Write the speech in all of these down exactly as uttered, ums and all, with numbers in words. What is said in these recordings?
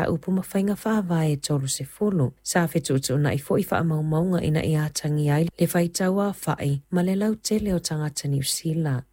mataupu ma faiga faavae e tolusefulu. Sa fetuutuunai foi faamaumauga ina ia atagia ai le faitau aofa'i ma le lautele o tagata Niu Sila.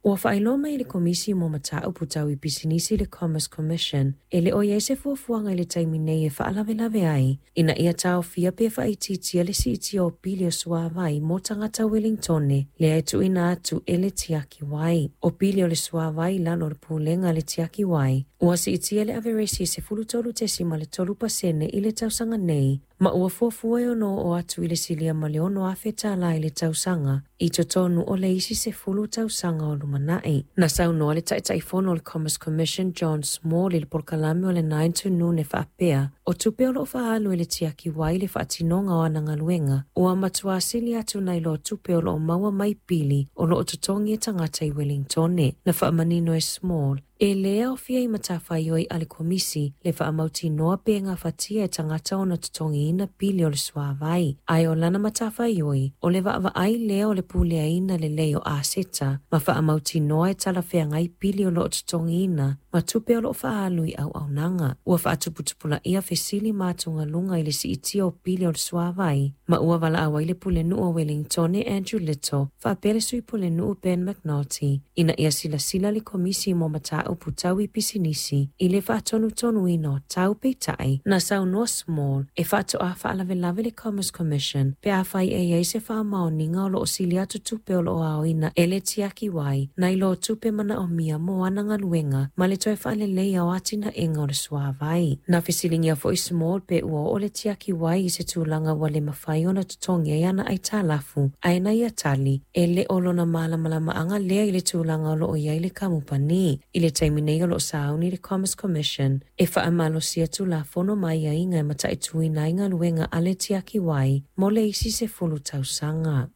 Ua faailoa mai e le Komisi mo Mataupu Tau i Pisinisi le Commerce Commission e le o i ai se fuafuaga i le taimi nei e faalavelave ai ina ia taofia pe faaitiitia le siitia o pili o suavai mo tagata Wellingtone lea e tuuina atu e le tiaki wai. O pili o le suavai i lalo o le pulega a le tiaki wai ua siitia le averesi e sefulu tolu tesima le tolu pasene i le tausaga nei ma ua fuafua e ono oo atu i le silia ma le ono afe tālā i le tausaga i totonu o le isi sefulu tausaga o lumana'i. Na saunoa le Taitaifono o le Commerce Commission John Small i le polokalame o le nine to noon e faapea o tupe o loo faaalu e le tiaki wai le faatinoga o ana galuega ua matuā sili atu nai lo tupe o loo maua mai pili o loo totogi e tagata i Wellingtone. Na faamanino e Small e lē aofia i matafaioi a le komisi le faamautinoa pe gafatia e tagata ona totogiina pili o le suavai, ae o lana matafaioi o le vaavaai lea o le puleaina lelei o aseta ma faamautinoa e talafeagai pili o loo totogiina ma tupe o loo faaalu i auaunaga. Ua faatuputupulaia fesili ma atugaluga i le siitia o pili o le suavai ma ua valaau ai le pulenuu o Wellingtone Andrew Little faapea le sui pulenuu Ben McNulty ina ia silasila le komisi mo mataupu tau i pisinisi i le faatonutonuina o tau. Peitai na saunoa Small e faatoa faalavelave le Commerce Commission pe afai e iai se faamaoniga o loo sili atu tupe o loo aoina e le tiaki wai nai lo tupe manaomia mo ana galuega ma le toe faaleleia o atinaega o le suavai. Na fesiligia foi Small pe ua oo le tiaki wai i se tulaga ua le mafai ona totogi ai ana aitalafu, ae na ia tali e le o lona malamalamaaga lea i le tulaga o loo iai le kamupani. I le taimi nei o loo sauni le Commerce Commission e faamalosia tulafono ma aiaiga e mataituina ai galuega a le tiaki wai mo le isi sefulu tausaga.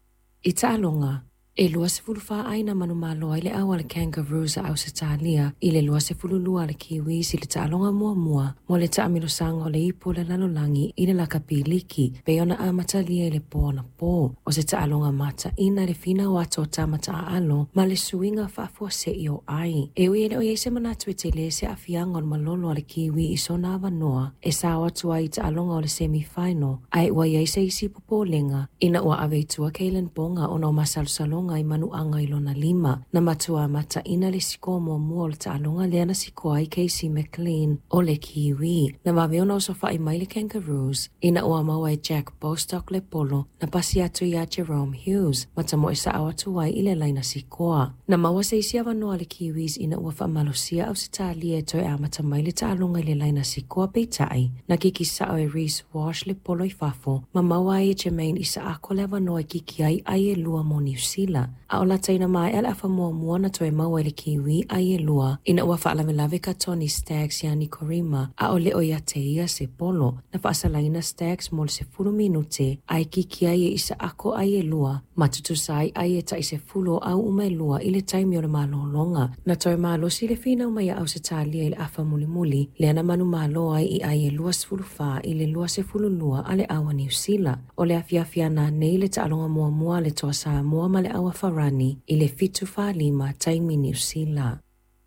I taaloga, e luasefulu fa ai na manumalo ai le au a le Kangaroos a Ausetalia i le luasefulu lua a le Kiwis i le taaloga muamua mo le taamilosaga o le ipu o le lalolagi i le lakapi liki pei ona amatalia i le po anapo. O se taaloga mataina le finau atu o tamata aalo ma le suiga faafuase'i o ai. E ui e le o iai se manatu e tele se aafiaga o le malolo a le Kiwi i sona avanoa e sao atu ai i taaloga o le semi-final, ae ua iai se isi popolega ina ua ave i tua Kalyn Ponga ona o masalosaloga i manuaga i lona lima. Na matuā mataina le sikoa muamua o le taaloga lea na sikoa ai Casey McLean o le Kiwi. Na vave ona osofa'i mai le Kangaroos ina ua maua e Jack Bostock le polo na pasi atu iā Jahrome Hughes ma tamoe sa'o atu ai i le laina sikoa. Na maua se isi avanoa le Kiwis ina ua faamalosia Ausetalia e toe amata mai le taaloga i le laina sikoa, peitai na kiki sa'o e Reece Walsh le polo i fafo ma maua ai e Jermaine Isaako le avanoa e kiki ai ai e lua mo Niu Sila. A o lataina maea le afa muamua na toe maua e le Kiwi ai e lua ina ua faalavelave ka Tony Staggs iā Nikorima a o le o ia te ia se polo. Na faasalaina Staggs mo le sefulu minute ae kiki ai e Isaako ai e lua ma tutusa ai ai e tai sefulu o au uma e lua i le taimi o le malologa. Na toe malosi le finau mai a Ausetalia i le afa mulimuli lea na manumalo ai i ai e luasefulu fa i le luasefulu lua a le au a Niu Sila. O le afiafi ananei le taaloga muamua a le Toa Samoa ma le au a Farani i le fitu falima taimi Niu Sila.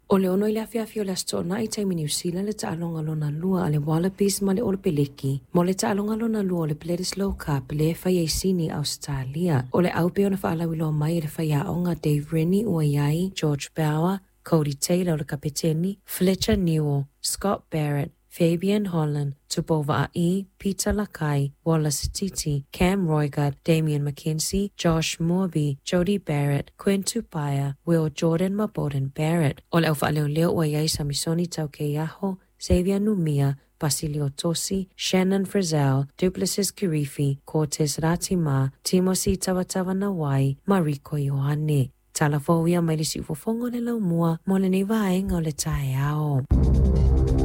O le ono i le afiafi o le Aso Toonai taimi Niu Sila le taaloga lona lua a le Wallabies ma le Olopeleki mo le taaloga lona lua o le Bledisloe Cup le e fai ai Sini Ausetalia. O le au pei ona faalauiloa mai e le faiaoga Dave Rennie ua iai George Bower, Codie Taylor o le kapeteni, Fletcher Newell, Scott Barrett, Fabian Holland, Tupou Vaa'i, Peter Lakai, Wallace Sititi, Cam Roigard, Damian McKenzie, Josh Moorby, Jody Barrett, Quinn Tupaea, Will Jordan ma Beauden Barrett. O le au faaleoleo ua iai Samisoni Taukeiaho, Xavier Numia, Pasilio Tosi, Shannon Frizzell, Duplessis Kirifi, Cortez Ratima, Timoci Tavatavanawai, Mariko Ioane. Tala fou ia mai le siufofoga o le laumua mo lenei vaega o le taeao.